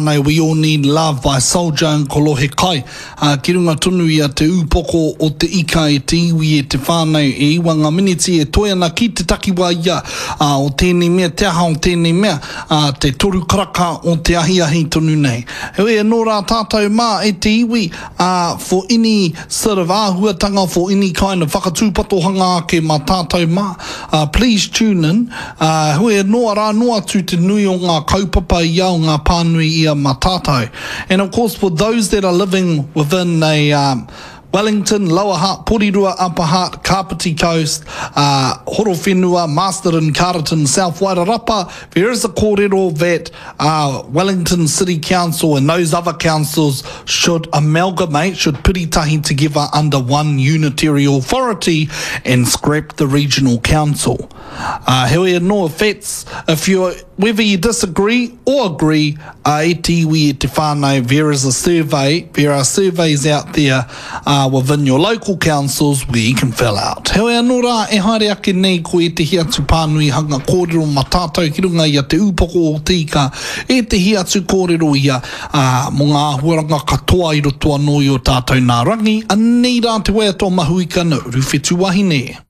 Nei We All Need Love by Soulja and Kolohe Kai, ā, ki runga tonu i a Te Ūpoko o Te Ika e te iwi e te whānau e iwa ngā miniti e toe ana ki te takiwā ia, ā, o tēnei mea, te aha o tēnei mea, ā, te toru karaka o te ahiahi tonu nei. Heoi anō rā tātou mā e te iwi, ā, for any sort of āhuatanga, for any kind of whakatūpatohanga ake mā tātou mā, ā, please tune in, Ā, heoi anō, arā noa atu te nui o ngā kaupapa ia, o ngā pānui ia mā tātou. And of course for those that are living within a um, Wellington, Lower Hutt, Porirua, Upper Hutt, Kāpiti Coast, uh, Horowhenua, Masterton, Carterton, South Wairarapa, there is a kōrero that uh, Wellington City Council and those other councils should amalgamate, should piritahi together under one unitary authority and scrap the regional council. Ā, heoi anō, if that's, if you, whether you disagree or agree, ā, e te iwi, e te whānau, there is a survey, there are surveys out there, ā, within your local councils where you can fill out. Heoi anō rā, e haere ake nei ko ētehi atu pānui hanga kōrero mā tātou ki runga i a Te Ūpoko o Te Ika, ētehi atu kōrero ia, ā, mō ngā āhuaranga katoa i roto anō i ō tātou nā rangi, anei rā te waiata o Mahuika na Uruwhetu Wahine.